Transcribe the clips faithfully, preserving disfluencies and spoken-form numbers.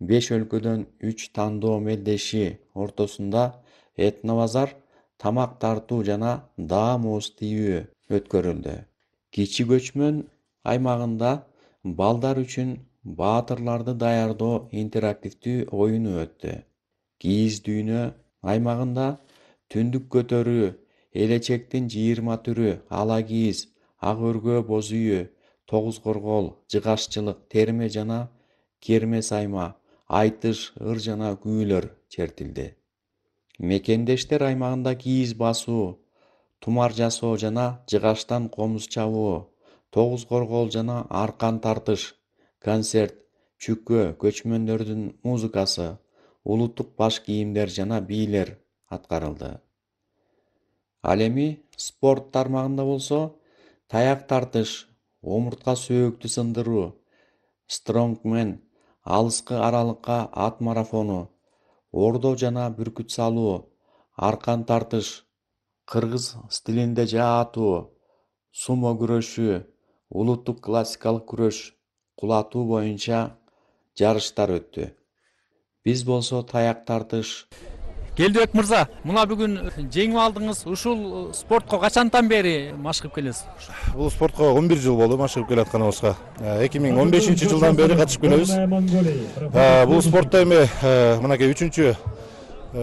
беш өлкөдөн үч тандоо мелдеши ортосунда этнобазар, тамак тартуу жана даа муз тийүү өткөрүлдү. Кичи көчмөн аймагында балдар үчүн баатырларды даярдоо интерактивдүү оюну өттү. Кийиз дүйнө аймагында түндүк көтөрүү, элечектин жыйырма түрү, ала кийиз, ак өргөө боз үйү, тогуз коргол, жыгашчылык, терме жана керме сайма, айтыш, ыр жана күүлөр чертилди. Мекендештер аймагында кийиз басуу, тумар жасоо жана жыгаштан комуз чабуу, тогуз коргол жана аркан тартыш, концерт, чүккө, көчмөндөрдүн музыкасы, улуттук баш кийимдер жана бийлер аткарылды. Ал эми спорт тармагында болсо, таяк тартыш, омуртка сөөктү сындыруу, стронгмен, алыскы аралыкка ат марафону, ордо жана бүркүт салуу, аркан тартыш, кыргыз стилинде жаа атуу, сумо күрөшү, улуттук классикалык күрөш, кулатуу боюнча жарыштар өттү. Биз болсо таяк тартыш. Келдибек мырза, мына бүгүн жеңип алдыңыз. Ушул спортко качантан бери машыгып келесиз? Бул спортко он бир жыл болду машыгып келатканыбызга. эки миң он бешинчи жылдан бери катышып келебиз. Бул спортто эми мынакей үчүнчү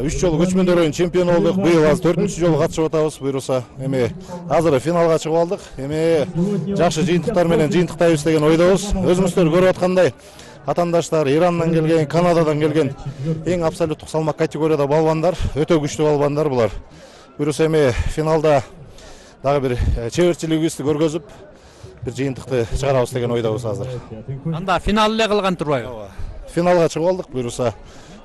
үч жолу көчмөндөр оюнунун чемпиону болдук. Быйыл азыр төртүнчү жолу катышып атабыз. Буюрса, эми азыр финалга чыгып алдык. Эми жакшы жыйынтыктар менен жыйынтыктайбыз деген ойдобуз. Өзүңүздөр көрүп аткандай, атаандаштар Ирандан келген, Канададан келген эң абсолюттук салмак категорияда балбандар, өтө күчтүү балбандар булар. Буюрса эми финалда дагы бир чеберчилигибизди көргөзүп, бир жыйынтыкты чыгарабыз деген ойдобуз азыр. Анда финал эле калган турбайбы? Финалга чыгып алдык. Буюрса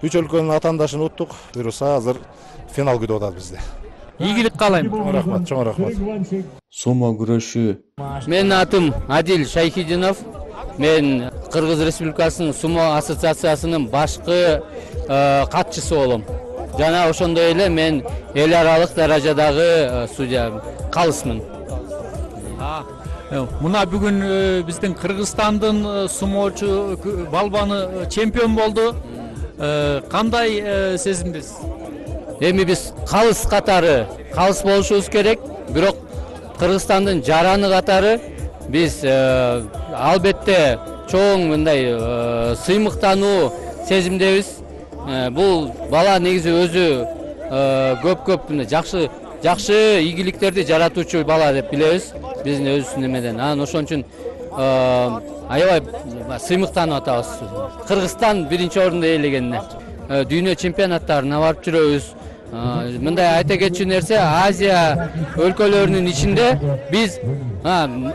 үч өлкөнүн атаандашын уттук. Буюрса азыр финал күтүп атат бизди. Ийгилик каалайм. Чоң рахмат, чоң рахмат. Сумо күрөшү. Менин атым Адил Шайхидинов. Мен Кыргыз Республикасынын сумо ассоциациясынын башкы катчысы болом. Жана ошондой эле мен эл аралык даражадагы судья калысмын. Мына бүгүн биздин Кыргызстандын сумоочу балбаны чемпион болду. Кандай сезимдесиз? Эми биз калыс катары, калыс болушубуз керек, бирок Кыргызстандын жараны катары биз албетте чоң мындай сыймыктануу сезимдебиз. Бул бала негизи өзү көп-көп жакшы жакшы ийгиликтерди жаратуучу бала деп билебиз биздин өзүбүздүн эмеден. Анан ошон үчүн аябай сыймыктанып атабыз. Кыргызстан биринчи орунду ээлегенине. Дүйнө чемпионаттарына барып жүрөбүз. Мындай айта кетчү нерсе, Азия өлкөлөрүнүн ичинде биз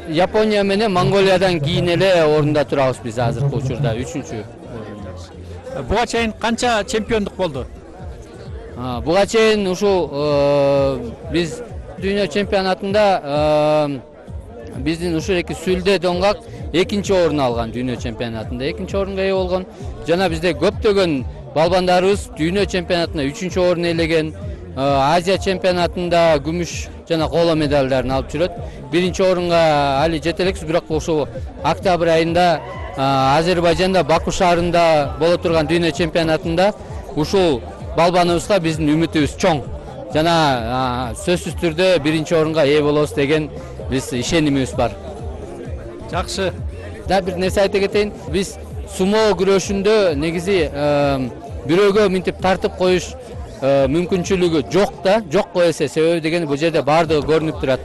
Япония менен Монголиядан кийин эле орунда турабыз биз азыркы учурда үчүнчү орунда. Буга чейин канча чемпиондук болду? Буга чейин ушул биз дүйнө чемпионатында биздин ушуреки Сүлдө Доңгак экинчи орун алган дүйнө чемпионатында. Экинчи орунга ээ болгон. Жана бизде көптөгөн балбандарыбыз дүйнө чемпионатында үчүнчү орун ээлеген, Азия чемпионатында күмүш жана коло медалдарын алып жүрөт. Биринчи орунга али жете элекпиз, бирок ошол октябрь айында Азербайжанда Баку шаарында боло турган дүйнө чемпионатында ушул балбаныбызга биздин үмүтүбүз чоң. Жана сөзсүз түрдө биринчи орунга ээ болобуз деген биз ишенимибиз бар. Жакшы. Да бир нерсе айта кетейин. Биз сумо күрөшүндө негизи бирөөгө минтип тартып коюш мүмкүнчүлүгү жок да, жок эсе. Себеби деген бул жерде бардыгы көрүнүп турат.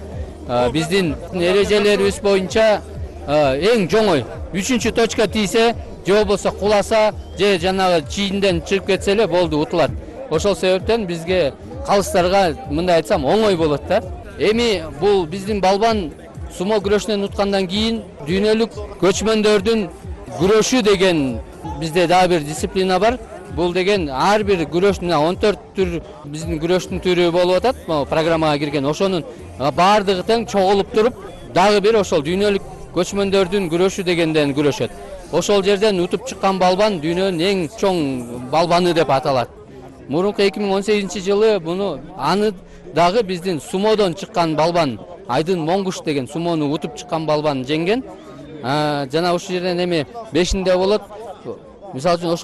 Биздин эрежелерибиз боюнча эң жоңой үчүнчү точка тийсе, же болбосо куласа, же жанагы чийинден чыгып кетсе эле болду, утулат. Ошол себептен бизге калыстарга мындай айтсам оңой болот да. Эми бул биздин балбан сумо күрөшүнөн уткандан кийин дүйнөлүк көчмөндөрдүн күрөшү деген бизде дагы бир дисциплина бар. Бул деген ар бир күрөштүн он төрт түр биздин күрөштүн түрү болуп атат. Программага кирген ошонун баардыгы тең чогулуп туруп, дагы бир ошол дүйнөлүк көчмөндөрдүн күрөшү дегенден күрөшөт. Ошол жерден утуп чыккан балбан дүйнөнүн эң чоң балбаны деп аталат. Мурунку эки миң он сегизинчи жылы буну аны дагы биздин сумодон чыккан балбан Айдын Моңгуш деген сумону утуп чыккан балбан жеңген. Жана ушул жерден эми бешинде болот. Мисалы үчүн ошол